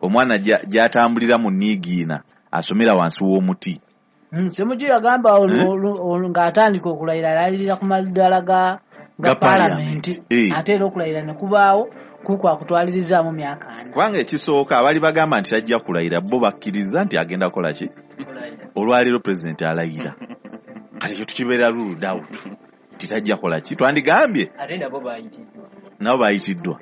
Omwana gy'atambulira mu niigiina asomera wansi w'omuti. Ssemujju yagamba ng'atandika okulayira alayirira ku maddaala ga paalamenti, ate era okulayira ne kubaawo kukwakutwalirizaamu myaka 4. Kubanga ekisooka abali bagamba nti tajja kulayira bo bakkiriza nti agenda kukola ki? Olwaleero pulezidenti alayira. Kati ekyo tukibeera ruled out nti tajja kukola ki? Twandigambye ate nabo bayitiddwa. Nabo bayitiddwa.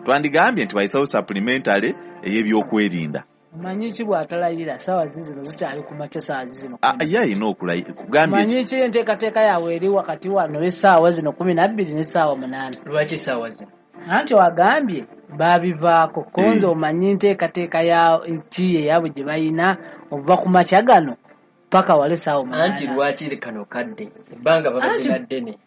Twandigambye nti bayisawo supplementary ey'ebyokwerinda. Omanyi ki bw'atalayira ssaawa zino zikyali ku makya ssaawa zino. Ye alina okulayira. Kugambye Omanyi ki enteekateeka yaabwe eri wakati wano w'essaawa zino 12 n'essaawa 8. Lwaki essaawa zino? Anti wagambye baabivaako. Konze omanyi enteekateeka ya ki eyaabwe gye balina okuva ku makya gano paka wale essaawa 8. Anti lwaki kano kadde? Ebbanga babadde na ddene.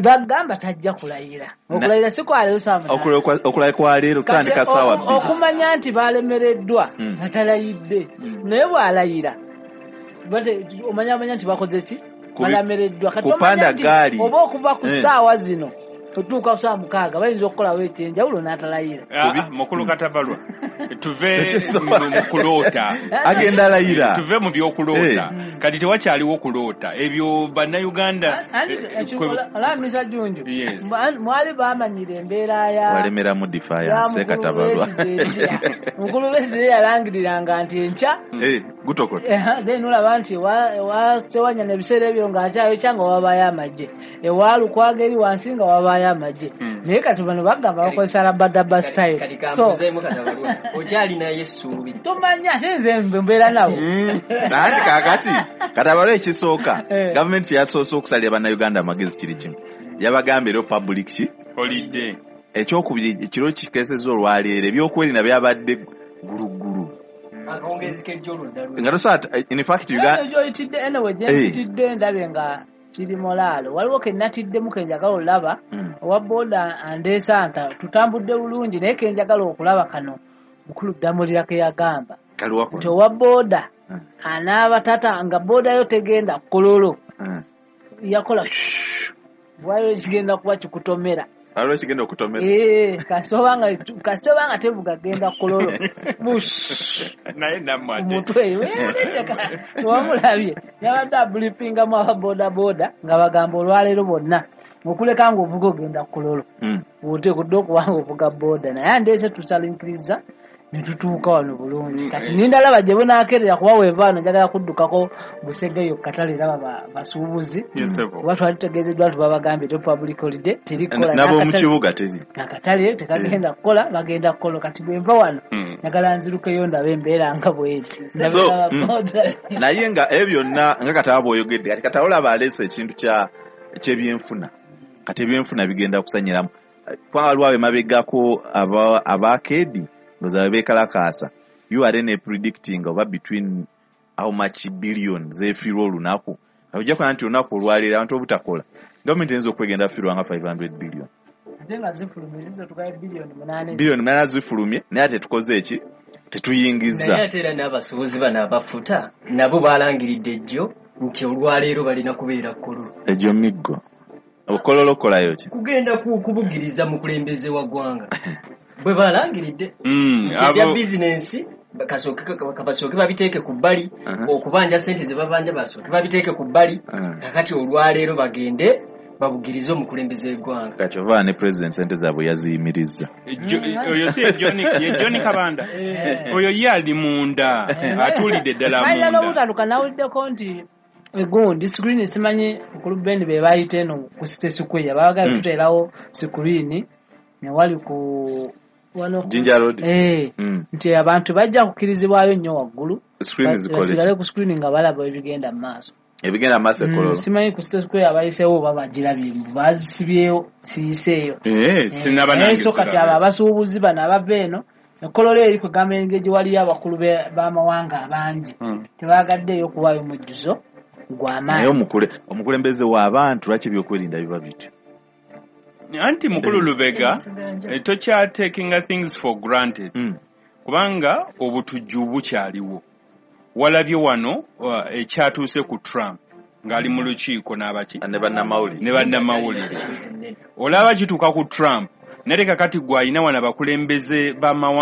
Bagamba tajja kulayira. Okulayira si kwa leero ssaawa 8. Okulayira kwa leero kutandika ssaawa 2. Okumanya nti balemereddwa nga talayidde. Naye bw'alayira omanya nti bakoze ki? Balemereddwa. Kati omanya nti oba okuva ku ssaawa zino otuuka ku ssaawa 6 bayinza okukolawo ekyenjawulo n'atalayira. Mukulu Katabalwa, tuve mu kuloota. Agenda alayira. Tuve mu by'okuloota. Kati tewakyaliwo kuloota. Ebyo Bannayuganda Olamisa Junju. Mwali bamanyira embeera ya walemera mu defiance Katabalwa. Mukulu Besigye yalangiriranga nti enkya gutokota. Then olaba nti Ssewanyana ebiseera ebyo ng'akyayokya nga wabaayo amagye. Ewa Lukwago eri wansi nga wabaayo amagye. Naye kati bano bagamba bakozesa rabadaba style. Kati kambuzeemu Katabalwa. Okyalinayo essuubi. Tomanya sinze mbeera nabo. Anti kaakati Katabalwa ekisooka gavumenti yasoose okusalira Bannayuganda amagezi kiri kimu. Yabagamba era public ki? Holiday. Ekyokubiri ekiro kikeesezza olwaleero ebyokwerinda byabadde gulugulu. Akawungeezi k'ejjo oludda lwe. Nga tosobola in fact Uganda gy'oyitidde anyway gye mpitidde ndabye nga kiri molaalo. Waliwo ke natiddemu ke njagala olaba owa booda andeesa nta tutambudde bulungi naye ke njagala okulaba kano mukulu Ddamulira ke yagamba nti owa booda anaaba tata nga booda yo tegenda Kololo yakola wayo kigenda kuba kikutomera. Waliwo kigenda okutomera. Kasooba nga tevuga genda Kololo. Naye nammwe ate. Omutwe wamulabye yabadde abulipingamu aba boda boda nga bagamba olwaleero bonna okuleka ng'ovuga ogenda Kololo. Oteekeddwa okuba ng'ovuga boda naye andeese tusalinkiriza ne tutuuka wano bulungi. Kati nindalaba gye bunaakerera kuba weeva wano njagala kuddukako Busegeyo katale raba basuubuzi. Kuba twali tutegeezeddwa nti babagambye te public holiday terikola. Nabo mu kibuga teri. Akatale tekagenda kukola bagenda kukola. Kati bwe nva wano njagala nzirukeyo ndabe embeera nga bw'eri. Naye nga ebyo byonna nga Kataba bw'oyogedde kati Kataba olaba aleese ekintu ky'ebyenfuna. Kati ebyenfuna bigenda kusanyiramu. Kubanga waliwo ab'emabegako abakeedi ndowooza beekalakaasa. URA ne predicting oba between how much billions zeefiirwa olunaku. Ojja kulaba nti olunaku olwaleero abantu obutakola gavumenti eyinza okwegenda fiirwa nga 500 billion. Ate nga zifulumye ziyinza otukayo biliyoni 8. Biliyoni 8 zifulumye naye ate tukoze eki? Tetuyingizza. Naye ate era n'abasuubuzi bano abafuta nabo balangiridde ejjo nti olwaleero balina kubeera Kololo. Egyo miggo. Okololo okolayo ki? Kugenda kubugiriza mukulembeze wa ggwanga. Bwe balangiridde ebya bizinensi basooke babiteeke ku bbali, okubanja ssente ze babanja basooke babiteeke ku bbali, kakati olwaleero bagende babugirize omukulembeze w'eggwanga. Kati ova ne president ssente zaabwe yaziyimirizza. Oyo si ye John Kabanda. Oyo ye ali munda, atuulidde ddala munda. Mayina n'obutaluka nawuliddeko nti egundi screen simanyi mukulu Ben be bayita eno ku City Square baagala tuteerawo screen ne wali ku wano Jinja Road. Nti abantu bajja kukkirizibwayo nnyo waggulu. Screen zikole. Basigale ku screen nga balaba ebigenda mu maaso. Ebigenda mu maaso Kololo. Simanyi ku City Square abayiseewo oba bagirabye bazisibyewo siyiseeyo. Sinaba nange. So kati abo abasuubuzi bano abava eno Kololo eri kugamba engeri gye waliyo abakulu b'amawanga abangi tebaagaddeeyo okuwaayo mujjuzo gw'amaanyi. Naye omukulembeze w'abantu lwaki ebyokwerinda biba bityo? Anti mukulu Lubega tokya taking things for granted. Kubanga obutujju bukyaliwo. Walabye wano ekyatuuse ku Trump ng'ali mu lukiiko n'abaki ne bannamawulire. Olaba kituuka ku Trump naye kakati gwe alina wano abakulembeze b'amawanga.